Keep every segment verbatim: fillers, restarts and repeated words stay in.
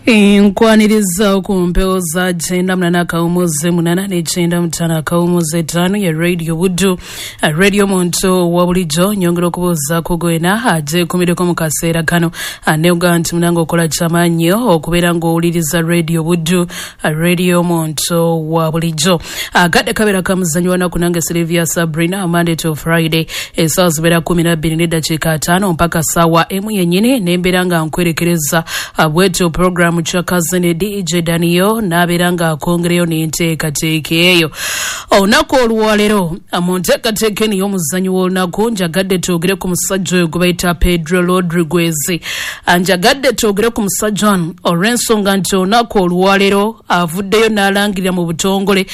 Nkwaniriza ku mpewo za kyenda munana akawumuze munana n'ekyenda mutaano akawumuze ttaano ya Radio Buddu, Radio Muntu wa bulijjo. Nyongera okubuuzaako gwena agyekumireko mu kaseera kano, neoga nti munange okola kyamaanyi okubeera ng'owuliriza Radio Buddu, Radio Muntu wa bulijjo. Akadde kabeera kamuzanyo wanaku nange Sylvia Sabrina, Monday to Friday essaawa zibeera kumi na bbiri n'eddakiika ataano mpaka ssaawa emu yennyini, nembeera nga nkwerekereza bwetyo programu Chakazene D J Daniel n'abeera ng'akongereyo n'enteekateeka eyo. Olunaku olwaleero mu nteekateeka eno ey'omuzannyo w'olunaku njagadde twogere ku musajja oyo gwe bayita Pedro Rodriguez. Njagadde twogere ku musajja ono olw'ensonga nti olunaku olwaleero avuddeyo n'alangirira mu butongole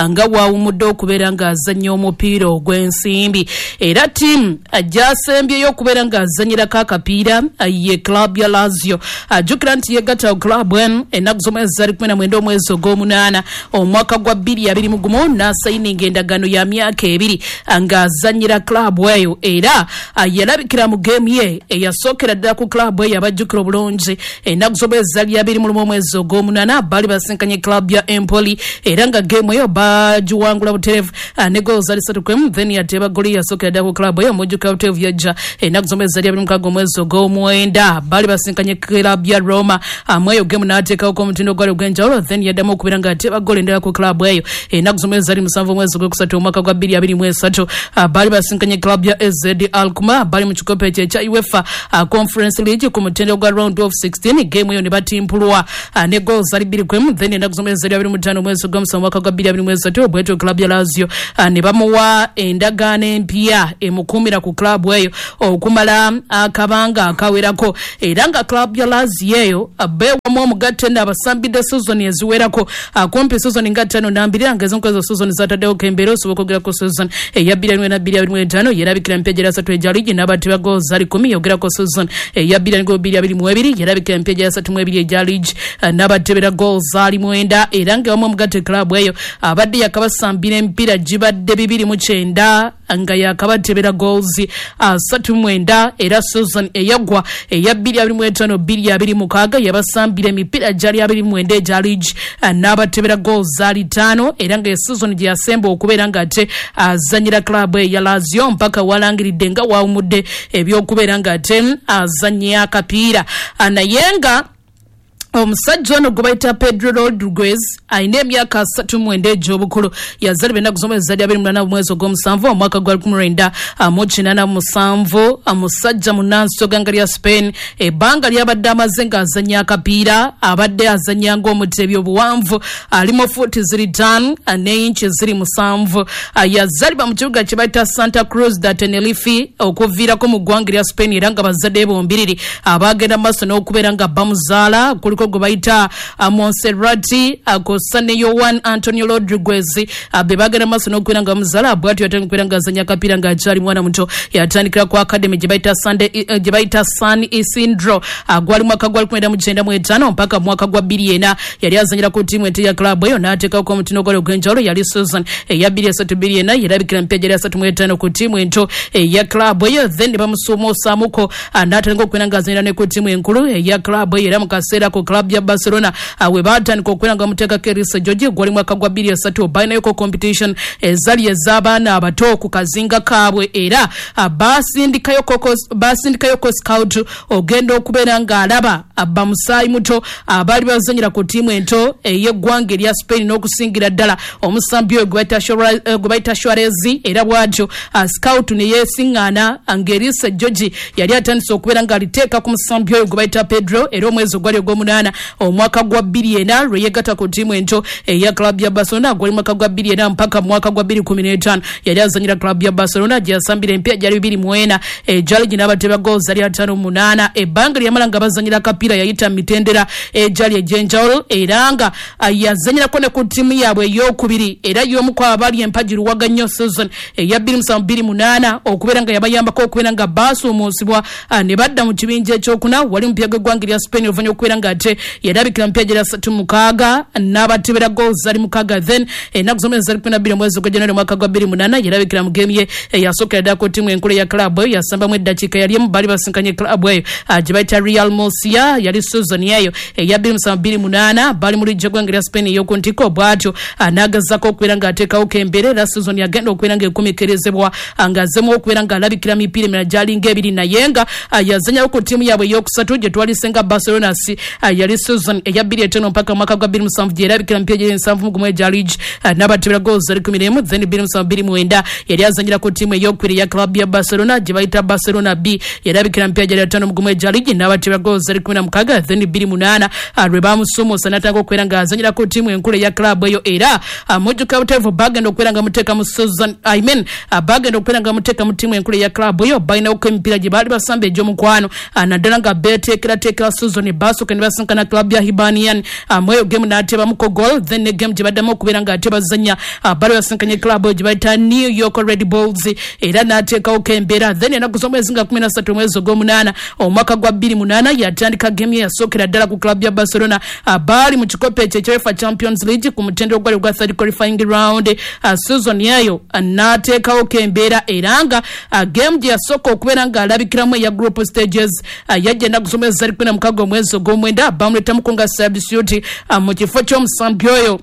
nga bw'awummudde okubeera ng'azannya omupiira ogw'ensimbi, era ttiimu gy'asembyeyo okubeera ng'azannyirako akapiira ye club ya Lazio. Ajjukira nti yeegatta club eno ennaku z'omwezi zali kumi na mwenda omwezi ogw'omunaana omwaka gwa bbiri abiri mu gumu n'asayininga endagaano ya myaka ebiri ng'azannyira club eyo, era yalabikira mu geemu ye eyasookera ddala ku club eyo abajjukira obulungi ennaku z'omwezi zali abiri mu lumu omwezi ogw'omunaana baali basinkanye club ya Empoli, era nga geemu eyo bagiwangula butereevu ne goolo zali ssatu ku emu. Then yateeba goli yasookera ddala ku club eyo mujjukira butereevu yajja ennaku z'omwezi zali abiri mu mukaaga omwezi ogw'omwenda baali basinkanye club ya Roma, mweyo gemu n'ateekawoko omutindo gwali ogw'enjawulo. Then yaddamu okubeera ng'ateeba ggoolo endala ku club eyo ennaku z'omwezi zali musanvu omwezi ogwokusatu omwaka gwa bbiri abiri mu esatu baali basinkanye club ya A Z Alkmaar, bali mu kikopo ekyo ekya UEFA Conference League ku mutindo gwa round of sixteen, geemu eyo ne batimpulwa ne goolo zali bbiri ku emu. Then ennaku z'omwezi zali abiri mu ttaano omwezi ogw'omusanvu omwaka gwa bbiri abiri mu esatu bwetyo club ya Lazio ne bamuwa endagaano empya emukuumira ku club eyo okumala akabanga akawerako, era nga club ya Lazio eyo beewamu omugatte n'abasambidde season eziwerako kumpi season nga ttaano nambiri nga ezimu ku ezo season zataddewo kembeera osobola okwogera ku season eya bbiri abiri mu bbiri abiri mu etaano yerabikira emipiira gyera asatu egya liigi n'abateba goolo zali kumi, yogerako season eya bbiri abiri mu bbiri abiri mu ebiri yerabikira emipiira gyera asatu mu ebiri egya liigi n'abatebera goolo zaali mwenda, era nga ewamu omugatte club eyo abadde yakabasambira emipiira gibadde bibiri mu kyenda nga yakabatebera goals asatu mwenda, era season eyaggwa eya bbiri abiri mu etaano bbiri abiri mukaaga yabasambira emipiira gyali abiri mwenda egya liigi n'abatebera goals zaali ttaano, era nga season gye yasemba okubeera ng'ate azannyira club eya Lazio mpaka walangiridde nga wawumudde ebyokubeera ng'ate azannya akapiira. Naye nga omusajja ono gwe bayita Pedro Rodriguez alina emyaka asatu mu mwenda egy'obukulu, yazaalibwa ennaku z'omwezi zali abiri mu munaana omwezi ogw'omusanvu omwaka gwa lukumi lwenda mu kinaana mu musanvu, omusajja munnansi w'eggwanga lya Spain. Ebbanga ly'abadde amaze ng'azannya akapiira abadde azannya ng'omuteebi obuwanvu ali mu fuuti ziri ttaano n'eyinki ziri musanvu. Yazaalibwa mu kibuga kye bayita Santa Cruz da Tenerife okuviirako mu ggwanga lya Spain, era nga bazadde bombiriri abaagenda mu maaso n'okubeera nga bamuzaala kuliko gwe bayita Monserrat akosa ne Yohan Antonio Rodriguez be bagenda maaso n'okubeera nga bamuzaala. Bw'atyo yatandika okubeera ng'azannya akapiira ng'akyali mwana muto, yatandikira ku academy gye bayita Sunday gye bayita San Isidro gwali mwaka gwa lukumi mu kyenda mu etaano mpaka mwaka gwa bbiri ena yali azannyira ku ttiimu ento ya club eyo n'ateekako omutindo gwali ogw'enjawulo. Yali season eya bbiri esatu bbiri ena yerabikira emipiira gyali asatu mu etaano ku ttiimu ento eya club eyo, then ne bamusuumuusaamuko n'atandika okubeera ng'azannyira ne ku ttiimu enkulu eya club eyo, era mu kaseera ku club ya Barcelona we batandika okubeera nga bamuteekako Erisa George gwali mwaka gwa bbiri esatu balinayoko competition ezali ez'abaana abato ku kazinga kaabwe, era basindikayoko scout ogenda okubeera ng'alaba bamusaayi muto abaali bazannyira ku ttiimu ento ey'eggwanga erya Spain n'okusingira ddala omusambi oyo gwe bayita Suarez, era bw'atyo scout ne yeesiŋŋaana ng'Erisa George yali atandise okubeera ng'aliteeka ku musambi oyo gwe bayita Pedro, era omwezi ogwali ogw'omunaana omwaka gwa bbiri ena lwe yeegatta ku ttiimu ento eya club ya Barcelona gwali mwaka gwa bbiri ena mpaka mwaka gwa bbiri kumi n'etaano yali azannyira club ya Barcelona gye yasambira emipiira gyali bibiri mu ena egyali gino abateba goolo zali ataano mu munaana. Ebbanga lye yamala nga bazannyira akapiira yayita mu mitendera egyali egy'enjawulo, era nga yazannyirako ne ku ttiimu yaabwe ey'okubiri, era y'omu ku abaali empagi luwaga nnyo season eya bbiri musanvu bbiri munaana okubeera nga yabayambako okubeera nga baasuumuusibwa ne badda mu kibinja ekyokuna wali mupiira gw'eggwanga erya Spain oluvannyuma okubeera nga ate Levante yarabikira mpya jera satu mukaaga n'abatebera goals zali mukaaga. Then ennaku z'omwezi zali kumi na bbiri omwezi gwa January mwaka gwa bbiri munaana yarabikira mu game ye eyasookera ddala ku ttiimu enkulu ya club eyo, yasambamu eddakiika yali emu, baali basinkanye club eyo gye bayita Real Murcia, yali season eyo eya bbiri musanvu bbiri munaana, bali mu liigi y'eggwanga lya Spain ey'oku ntikko. Bw'atyo n'agezaako okubeera ng'ateekawo kembeera, era season yagenda okubeera ng'ekumikirizibwa ng'azzemu okubeera ng'alabikira mipiira emirala gy'alinga ebiri, naye nga yazanyawo ku ttiimu yaabwe ey'okusatu gye twalisenga Barcelona C, yali season eya bbiri etaano mpaka mwaka gwa bbiri musanvu gye yarabikira mipiira gy'eri nsanvu mu gumu egya liigi n'abatebera goals zali kumi n'emu. Then bbiri musanvu bbiri mwenda yali azanyira ku ttiimu ey'okubiri eya club ya Barcelona gye bayita Barcelona B, yarabikira mipiira gy'eri ataano mu gumu egya liigi n'abatebera goals zali kumi na mukaaga. Then bbiri munaana lwe bamusuumuusa n'atandika okubeera ng'azanyira ku ttiimu enkulu eya club eyo, era mujjuka buteevu bagenda okubeera nga muteeka mu season I mean bagenda okubeera nga muteeka mu ttiimu enkulu eya club eyo, balinawoko emipiira gye baali basamba egy'omukwano naddala nga beeteekerateekera season, basooka ne basinkana club ya Hibernian mweyo game n'ateebamuko goal. Then ne game gye baddamu okubeera ng'ate bazannya baali basinkanye club eyo gye bayita New York Red Bulls, era n'ateekawoko embeera. Then ennaku z'omwezi nga kumi na ssatu omwezi ogw'omunaana omwaka gwa bbiri munaana yatandika game ye yasookera ddala ku club ya Barcelona, baali mu kikopo ekyo ekya UEFA Champions League ku mutendera ogwali ogwa third qualifying round season eyo n'ateekawo kembeera, era nga game gye yasooka okubeera ng'alabikiramu eya group stages yajja ennaku z'omwezi zali kumi na mukaaga omwezi ogw'omwenda, bamuleetamuko nga substitute mu kifo ky'omusambi oyo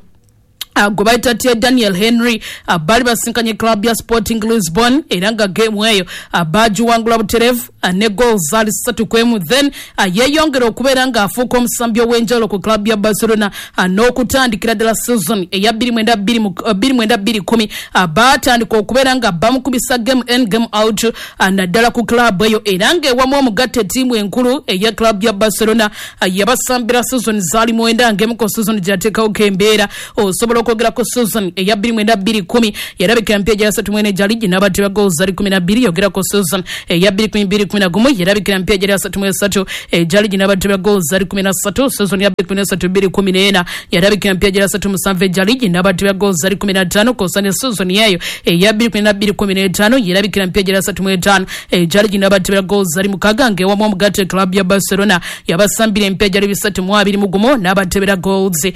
gwe bayita T Daniel Henry, baali basinkanye club ya Sporting Lisbon, era nga game eyo bagiwangula butereevu ne goals zaali ssatu ku emu. Then yeeyongera okubeera ng'afuuka omusambi ow'enjawulo ku club ya Barcelona n'okutandikira ddala season eya bbiri mwenda bbiri mwenda bbiri kumi baatandika okubeera nga bamukubisa game in game out naddala ku club eyo, era ng'ewamu omugatta ettiimu enkulu eya club ya Barcelona yabasambira season zaali mwenda, ng'emu ku season gye yateekawo kembeera. Osobola okwogera ku season eya bbiri mwenda bbiri kumi yarabikira mpya gya ssatu mwene gya liigi n'abatebera goals zali kumi na bbiri. Yogera ku season eya bbiri kumi bbiri kumi na gumu yarabikira mpya gya ssatu mu esatu egya liigi n'abatebera goals zali kumi na ssatu. Season ya bbiri kumi n'esatu bbiri kumi n'ena yarabikira mpya gya ssatu musanvu egya liigi n'abatebera goals zali kumi na ttaano. Kw'ossa ne season eyo eya bbiri kumi na bbiri kumi n'etaano yarabikira mpya gya ssatu mu etaano egya liigi n'abatebera goals zali mukaaga, ng'ewamu omugatte club ya Barcelona yabasambira empya gyali bisatu mu abiri mu gumu n'abatebera goals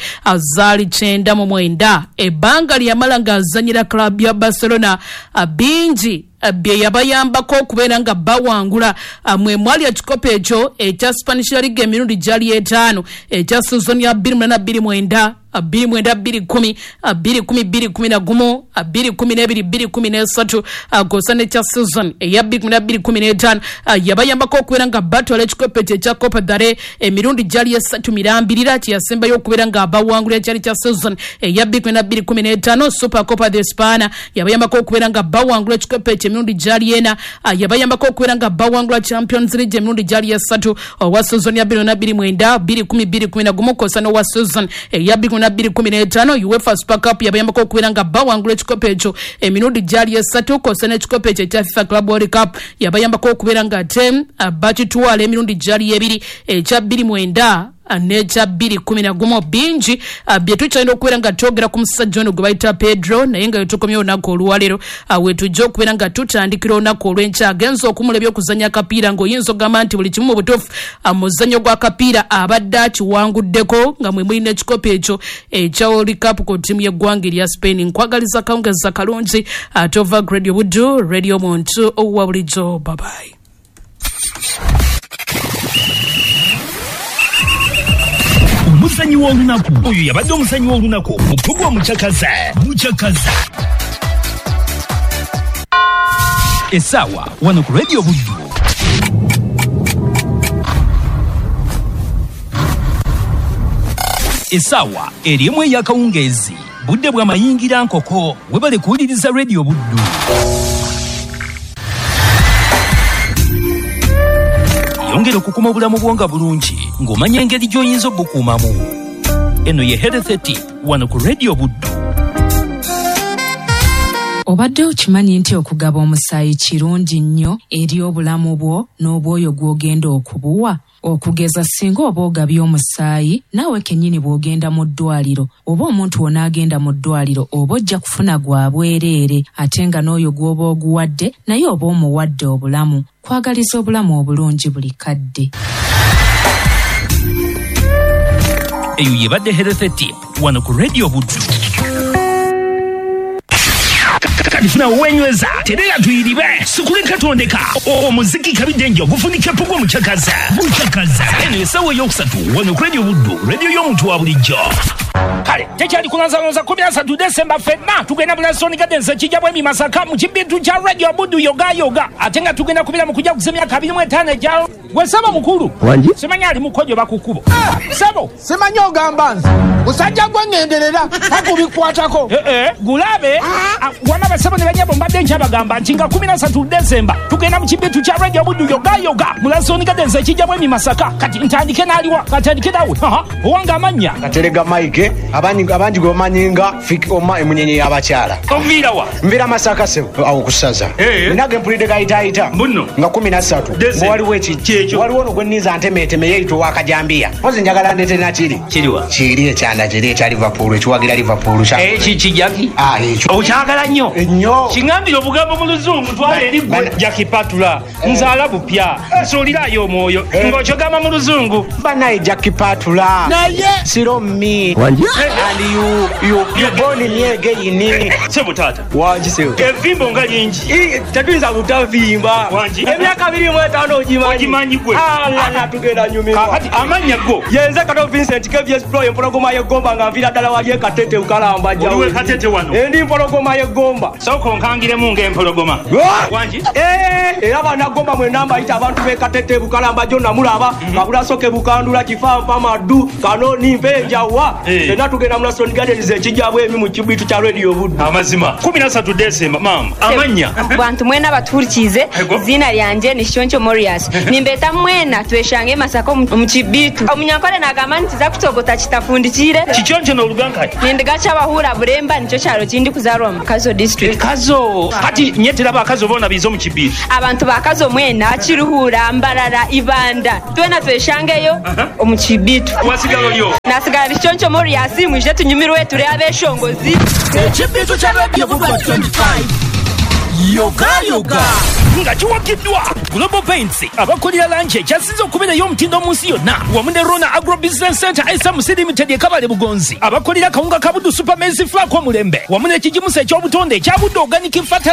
zaali kyenda mu mwenda. Ebbanga lyamala ng'azannyira club ya Barcelona bingi bye yabayambako okubeera nga bawangula, mwe mwali ekikopo ekyo ekya Spanish La Liga emirundi gyali etaano ekya season ya bbiri munaana bbiri mwenda bbiri mwenda bbiri kumi bbiri kumi bbiri kumi na gumu bbiri kumi n'ebiri bbiri kumi n'esatu kw'ossa n'ekya season eya bbiri kumi na bbiri kumi n'etaano yabayambako okubeera nga batwala ekikopo ekyo ekya Copa del Rey emirundi gyali esatu mirambirira, kye yasembayo okubeera nga bawangula ekyali kya season eya bbiri kumi na bbiri kumi n'etaano. Super Copa de España yabayambako okubeera nga bawangula ekikopo ekyo emirundi gyali ena, yabayambako okubeera nga bawangula Champions League emirundi gyali esatu owa season ya bbiri na bbiri mwenda bbiri kumi bbiri kumi na gumu kw'ossa n'owa season eya bbiri kumi na bbiri kumi n'etaano. UEFA Super Cup yabayambako okubeera nga bawangula ekikopo ekyo emirundi gyali esatu kw'ossa n'ekikopo ekyo ekya FIFA Club World Cup yabayambako okubeera nga ate bakitwala emirundi gyali ebiri ekya bbiri mwenda n'ekya bbiri kumi na gumu. Bingi bye tukyalina okubeera nga twogera ku musajja ono gwe bayita Pedro, naye nga wetukomye olunaku olwaleero wetujja okubeera nga tutandikira olunaku olw'enkya. Agenza okumula ebyokuzannya akapiira ng'oyinza okugamba nti buli kimu mu butuufu muzannyo gw'akapiira abadde akiwanguddeko, nga mwe mulina ekikopo ekyo ekya World Cup ku ttiimu y'eggwanga erya Spain. Nkwagaliza kawungezi kalungi ate ova Radio Buddu, Radio Muntu owa bulijjo. Bye-bye. Omusanyi w'olunaku oyo yabadde omusanyi w'olunaku mukugwa mucakaza mucakaza essaawa wano ku Radio Buddu. Essaawa erimu ey'akawungeezi, budde bwa mayingira nkoko. Webale kuwuliriza Radio Buddu. Yongera okukuma obulamu bwo nga bulungi ng'omanya engeri gy'oyinza obukuumamu. Eno ye Health Tip wano ku Radio Buddu. Obadde okimanyi nti okugaba omusaayi kirungi nnyo eri obulamu bwo n'obwoyo gw'ogenda okubuwa? Okugeza singa oba ogabye omusaayi, naawe kennyini bw'ogenda mu ddwaliro oba omuntu w'onaagenda mu ddwaliro oba ojja kufuna gwa bwereere, ate nga n'oyo gw'oba oguwadde naye oba omuwadde obulamu. Kwagaliza obulamu obulungi buli kadde. Eyo yebadde Health Tip wano ku Radio Buddu. Kati funa wenyweza terera tuyiribe sikuleka tondeka omuziki kabidde ogufunika pugwa mukyakaza mukyakaza. Eno essaawa eyokusatu wano ku Radio Buddu, radio y'omuntu wa bulijjo. Kale tekyali kulanzalonza kumi na ssatu Desemba ffenna tugenda Bulasoni Gardens ekijja bwemi Masaka mu kibintu kya Radio Buddu yoga yoga, ate nga tugenda kubira mu kujja kuza emyaka abiri mu etaano egya gwe ssebo mukulu. Simanyi ali mukojo bakukubo ssebo simanyi ogamba nze musajja gwe ŋŋenderera takubikwatako. Gulabe wama basebo ne banyabo mbadde nkyabagamba nti nga kumi na ssatu Desemba tugenda mu kibintu kya Radio Buddu yoga yoga Bulasoni Gardens ekijja bwemi Masaka. Kati ntandike n'aliwa katandike nawe owange amannya Katerega Mike abangi abangi gwe bamanyi nga Fik Oma emunyenye y'abakyala. Oviira wa? Nviira Masaka ssebo awo ku ssaza. Nage mpulidde gayitaayita nga kumi na ssatu waliwo eki waliwo ono gwe nninza ntemeeteme yeeyita ow'akajambiya. Mpozi njagala ndeete nakiri. Kiriwa? Kiri ekyanda kiri ekya Liverpool ekiwagira Liverpool. Eki kijaki? Ah, ekyo. Okyagala nnyo? Nnyo. Kiŋŋambire obugambo mu luzungu twala eri gwe Jackie Patula. Nzaala bupya. Nsuulirayo omwoyo. Ng'okyogamba mu luzungu. Bannaye Jackie Patula. Naye. Siro me. And you, you, you born me again. Sebo tata. Wangi sebo. Evimbo nga lingi. Tetuyinza butavimba. Wangi. Emyaka abiri mu etaano ogimanyi. Ogimanyi gwe. Ala tugenda nyumirwa. Kakati amannya go. Yenze Kato Vincent K V S Pro empologoma y'eggomba nga nviira ddala wali e Katete Bukalamba jjawo. Oliwe Katete wano. Endi mpologoma y'eggomba. Sooka onkangiremu ng'empologoma. Wangi. Eh, era bannagomba mwenna mbayita abantu b'e Katete Bukalamba gyo namulaba. Kabulasoke Bukandula Kifampa Maddu Kanoni Mpenjawa. Fenna tugenda mu Bulasoni Gardens ekijja bwemi mu kibitu kya Radio Buddu. Amazima. kumi na ssatu Desemba mama. Amannya. Bantu mwena batuhurikize izina lyanje ni Shoncho Morias. Nimbeta mwena tweshange Masaka mu kibitu. Omunyankole nagamba nti za kutogota kitafundikire. Kichoncho n'oluganka. Nindiga kyabahura Buremba nicyo kyaro kindi kuzarwa mu Kazo district. Kazo. Kati nyetera bakazo bona bizo mu kibitu. Abantu bakazo mwena Kiruhura Mbarara Ibanda. Twena tweshangeyo omu kibitu. Wasigalo lyo. Nasigala Shoncho Morias mwije tunyumirwe turi abeshongozi. Ekibitu kya Radio Buddu twenty-five. Yoga yoga. Nga kiwagiddwa Global Paints abakolera langi ekyasinze okubeerayo omutindo mu nsi yonna wamu ne Rona Agro Business Center S M C Limited e Kabale Bugonzi abakolera akawunga ka Buddu Super Maize Flour k'omulembe wamu n'ekigimusa eky'obutonde ekya Buddu Organic Fertilizer.